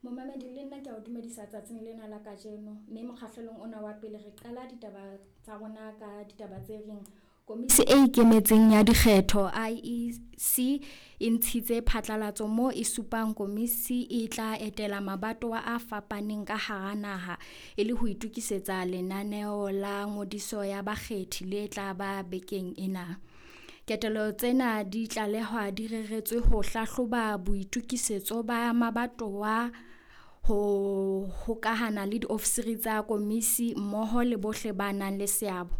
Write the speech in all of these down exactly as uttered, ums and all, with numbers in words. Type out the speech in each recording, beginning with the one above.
Momamedi le nna ke a o dumedisa tsatsing lena la kajeno, mme mokgahlelong ona wa pele re qala ditaba tsa rona ka ditaba tse reng Komisi e Ikemetseng ya Dikgetho I E C e ntshitse phatlalatso moo e supang komisi e tla etela mabatowa a fapaneng ka hara naha e le ho itokisetsa lenaneo la ngodiso ya bakgethi le tla ba bekeng ena. Ketelo tsena di tlalehwa di reretswe ho hlahloba boitokisetso ba mabatowa ho hokahana le diofisiri tsa komisi mmoho le bohle ba nang le seabo,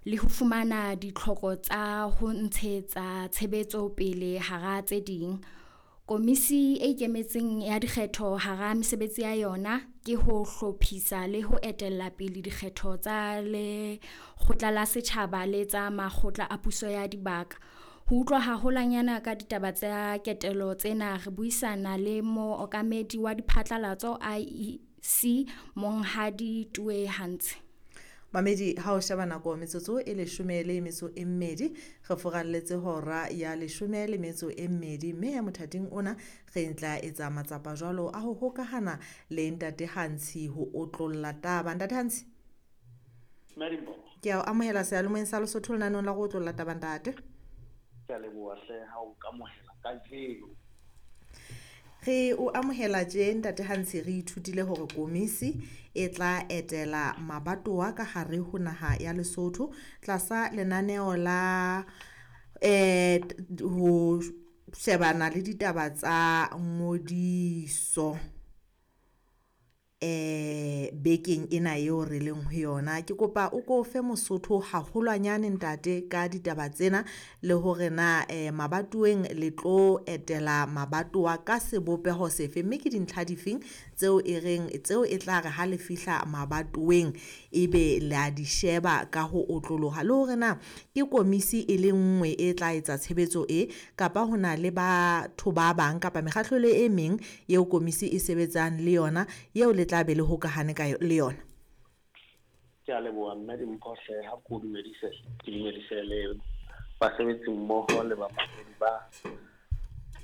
le ho fumana ditlhoko tsa ho ntshetsa tshebetso pele hara tse ding. Komisi e Ikemetseng ya Dikgetho hara mesebetsi ya yona ke ho hlophisa le ho etella pele dikgetho tsa lekgotla la setjhaba le tsa makgotla a puso ya dibaka. Ho utlwa haholwanyane ka ditaba tsa ketelo tsena re buisana le mookamedi wa diphatlalatso I E C Monghadi Tue Hantshe. Mamedi, ha o sheba nako metsotso e leshome le metso e mmedi, re furalletse hora ya leshome le metso e mmedi, mme ya mothating ona re tla etsa matsapa jwalo a ho hokahana le Ntate Hantshe ho otlolla taba. Ntate Hantshe, ke a o amohela seyalemoyeng sa Lesotho lenaneng la go otlolla taba, ntate. Ke a leboha hle ha o nkamohela kajeno. Re o amohela tje Ntate Hantshe, re ithutile hore komisi e tla etela mabatowa ka hare ho naha ya Lesotho tlasa lenaneo la eh ho shebana le ditaba tsa ngodiso eh bekeng ena eo re leng ho yona. Ke kopa o ko fe Mosotho haholwanyane ntate ka ditaba tsena le hore na eh mabatoweng le tlo etela mabatowa ka sebopeho sefe, mme ke dintlha difeng tseo e reng tseo e tla re ha le fihla mabatoweng ebe le a di sheba ka ho otloloha, le hore na ke komisi e le nngwe e tla etsa tshebetso e kapa ho na le batho ba bang kapa mekgatlo e meng eo komisi e sebetsang le yona eo le tla be le hokahane ka le yona. Ke a leboha mme Dimpho hle, ha ke o dumedise, ke dumedise le basebetsi mmoho le bamamedi ba